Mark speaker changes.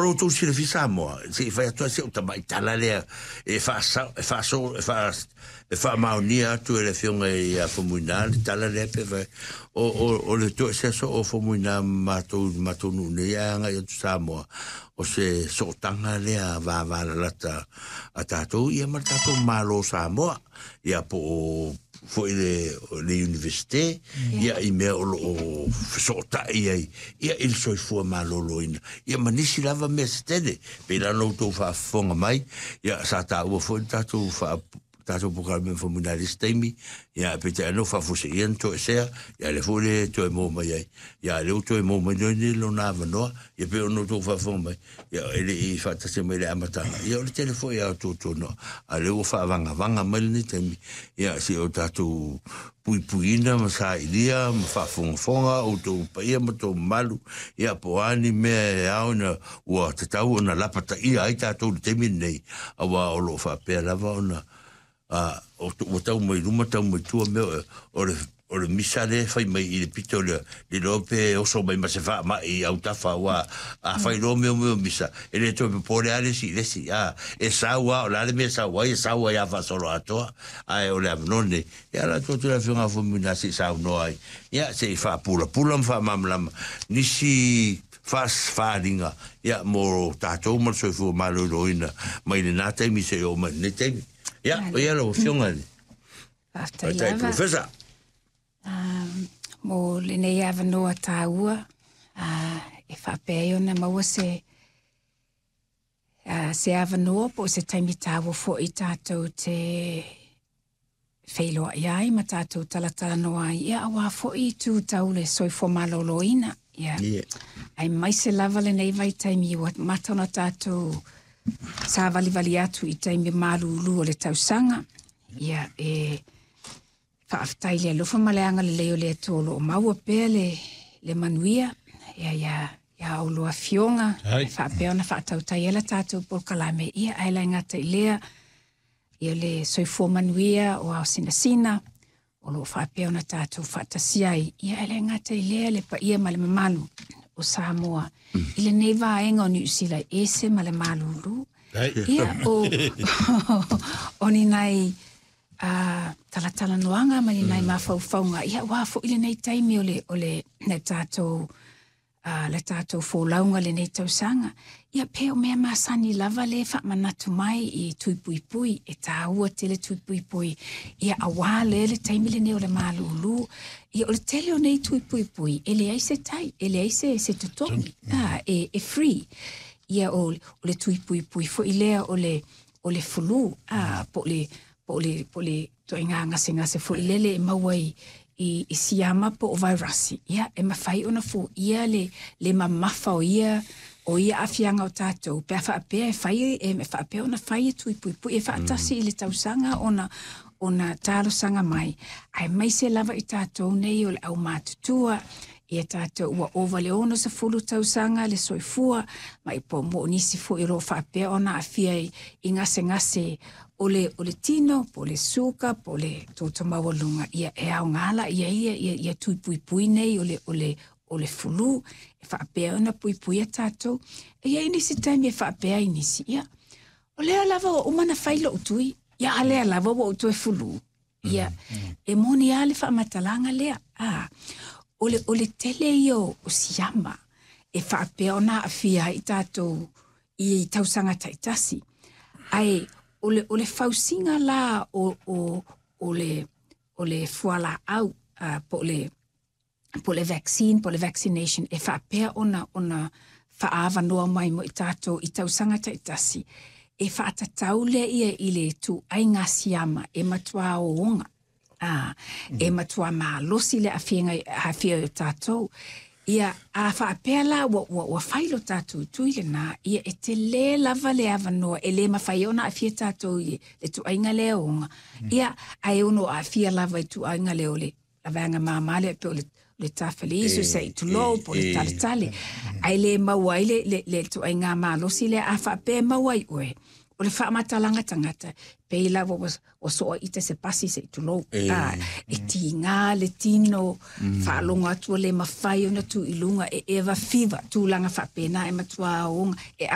Speaker 1: Mo lo outou silafia Samoa, se i fai atu lava si au tamai tala lea e faasao, e faaso, e faa, e faamaonia atu e le Afioga ia Faumuina le tala lea pe fai, o, o, o le toesea soo o Faumuina ma matou i le matou nuu nei ae agai atu Samoa, o se sootaga lea vavalalata a tatou ia ma le tatou Malo o Samoa, ia po o foi le, le Universite, ia i mea o lo o fesootai ai, ia i le soifua maloloina, ia ma nisi lava mea se tele. Pei la ona outou faafofoga mai, ia sa taua foi le tatou faa tatou polokalame ma Faumuina i le isi taimi, ia peitai ane ua faafuaseia na toesea, ia lea foi le toe maua mai ai, ia lea ua toe maua mai nei lona avanoa, ia pei ona outou faafofoga mai, ia e le i faatasi mai i le amataga, ia o le tele foi a tuatuanoa, a lea ua faavagavaga mai lenei taimi, ia se i o tatou puipuiina ma sailia ma faafogafoga outou paia ma outou mamalu, ia po o a ni mea e ao ina ua tatau ona lapataia ai tatou i le taimi lenei, aua o lo o faapea lava ona a, ua tau mai luma tau mai tua mea o le o le misa lea e fai mai i le pito lea, le iloa pe oso mai ma se faamai i autafa, aua a fai loa mea o misa, e le toe popole lava le isi i le isi, a, e sau lava, o le a le mea e sau ai, e sau ai lava faasoloatoa, ae o le avanoa lenei, e ala atu atu le Afioga ia Faumuina se i saunoa ai, ia, se i faapulapula ma faamalamalama nisi faaaliga, ia, mo tatou ma le soifua maloloina mai lena taimi seia oo mai i lenei taimi. Ia, o ia lau Afioga i le
Speaker 2: Faafetai lava.
Speaker 1: Professor.
Speaker 2: Mo lenei avanoa taua, e faapea ai ona maua se se avanoa po o se taimi taua foi tatou te feiloai ai ma tatou talatalanoa ai, ia aua foi itu tau le soifua maloloina. Ia.
Speaker 1: Yeah.
Speaker 2: Aemaise lava lenei vaitaimi ua mata ona tatou savalivali atu i taimi malulu o le tausaga. Ia, e faafetai i le alofa ma le agalelei o le Atua o lo o maua pea le, le manuia. Ia, ia, ia oulua afioga, e faapea ona faatautai ai la tatou polokalame, ia, ae le gata i lea, ia le soifua manuia o ao sinasina, o lo o faapea ona tatou faatasi ai, ia e le gata i lea le paia ma le mamalu o Samoa i lenei vaega o Niu Sila e ese ma le malulu. Ia, o, o ni nai talatalanoaga ma ni nai mafaufauga, ia aua foi lenei taimi o le, o le, le tatou le tatou folauga lenei tausaga. Ia pe o mea masani lava le faamanatu mai i tui puipui, e tāua tele tui puipui, ia aua lea le taimi lenei o le malūlū. Ia o le tele o nei tui puipui, e leai se tai, e leai se, se totogi, e, e free. Ia o, o le tui puipui foi lea o le, o le flu, po o le, po o le, po o le ituaiga gasegase foi lele e maua i, i, i siama po o vairasi, ia, e mafai ona foia le, le mamafa o ia, o ia aafiaga o tatou, pe a faapea e fai, e faapea ona fai e tui puipui e faatasi i le tausaga ona, ona talosaga mai, aemaise lava i tatou nei o le aumatutua, ia tatou ua ova le 60 tausaga le soifua, ma i po mo nisi foi o lo o faapea ona aafia i, i gasegase o le, o le tino, po o le suka, po o le toto maualuga, ia e aoga la ia ia, ia, ia tui puipui nei o le, o le, o le fulu, e faapea ona puipuia tatou. E i ai nisi taimi e faapea ai nisi, ia, o lea lava ua uma ona fai lou tui, ia a lea lava ua ou toe fulu. Ia, e moni lava le faamatalaga lea. A, o le, o le tele ia o, o siama e faapea ona aafia ai tatou i tausaga taitasi. Ae o le, o le fausiga la o, o, o le, o le fualaau, po o le, po o le vaccine, po o le vaccination e faapea ona, ona faaavanoa mai mo i tatou i tausaga taitasi, e faatatau lea ia i le ituaiga siama e matua ooga. A, e matua malosi le aafiaga, aafia o tatou. Ia, a faapea la ua, ua, ua fai lo tatou tui lena, ia e tele lava le avanoa e le mafai ona aafia tatou i le ituaiga lea ooga. Ia, ae ono aafia lava i ituaiga lea o le vaega māmā lea pe o le, le tafaliisu, se i tulou, po o le taletale. Ae le maua ai le, le, le ituaiga malosi lea a faapea e maua ai oe, o le faamatalaga tagata, pei lava ua, ua soa ita se pasi se i tulou. A, e tiga le tino, faalogo atu ua le mafai ona tu i luga, e eva fiva, tulaga faapena e matua ooga, e.